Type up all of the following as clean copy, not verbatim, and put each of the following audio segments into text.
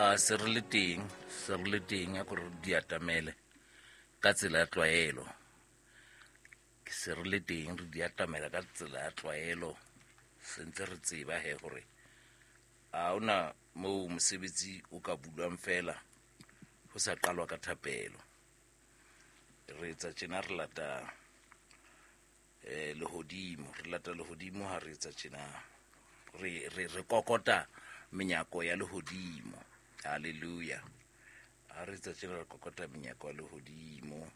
A se re le teng, se re le teng, a kore di atamele ka tsela ya tlwaelo. Ke se re le teng, re di atamela ka tsela ya tlwaelo. Se ntse re tseba he hore ha hona moo mosebetsi o ka bulwang fela ho sa qalwa ka thapelo. Re etsa tjena, re lata lehodimo, re lata lehodimo ha re etsa tjena. Re kokota menyako ya lehodimo. Hallelujah. Ha re etsa tjena, re kokota menyako ya lehodimo.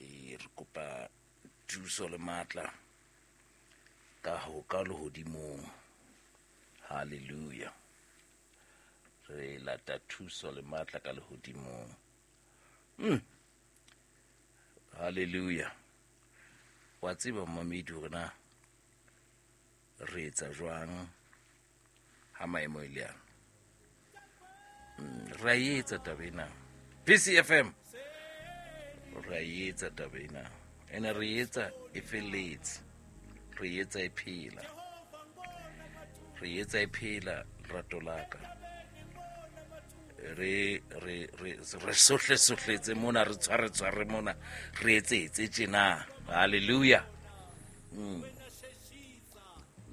Re kopa thuso le matla ka ho ka lehodimong. Hallelujah. Re lata thuso le matla ka lehodimong. Hallelujah. Wa tseba momamedi hore na re etsa jwang ha maemo e le ana. Re a etsa taba ena. PCFM. Re a etsa taba ena. Ene re etsa e felletse. Re etsa e phela. Re etsa e phela lerato la ka. Re re re re sohle sohletse mona, re tshware tshware mona, re etsetse tjena. Hallelujah.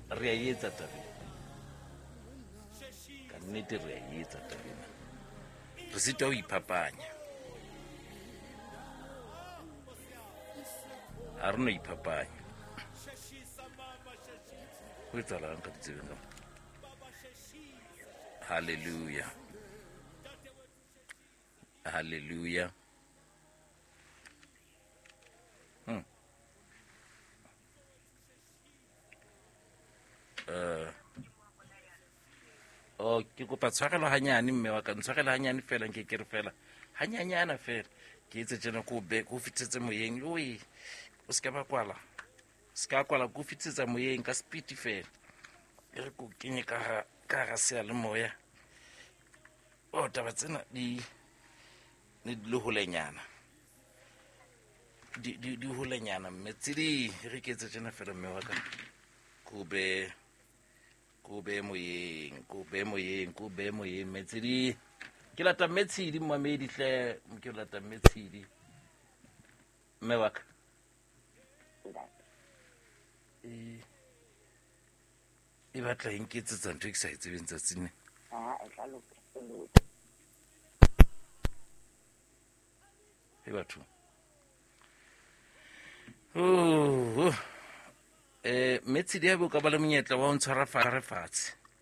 Re a etsa taba ena. Ka nnete re a etsa taba ena. Re sitwa ho iphapanya. Ha re no iphapanya. Ho etsahalang ka ditsebeng ka mo? Hallelujah. Hallelujah. Oh, ke kopa tshwarelo hanyane mme wa ka, ntshwarelo hanyane fela, nke ke re fela hanyanyana fela, ke etse tjena, ko be ko fitetse moyeng. Oi, o se ka ba kwala, se ka kwala, ko fitsetsa moyeng ka speed fela, e re ko kenye ka hara, ka hara seyalemoya. Oh, taba tsena di ne di le holenyana, di holenyana mme tse di re ke etse tjena fela mme wa ka, ko be, ko be moyeng, ko be moyeng, ko be moyeng mme tse di. Ke lata mme Tshidi, mmamedi hle, ke lata mme Tshidi. Mme wa ka. E batla e nketsetsa ntho e ke sa e tsebeng tsatsing le. Ah, e tla loka, e loka. E batho. Oh, mme Tshidi, ha be o ka ba le monyetla wa ho ntshwara fatshe.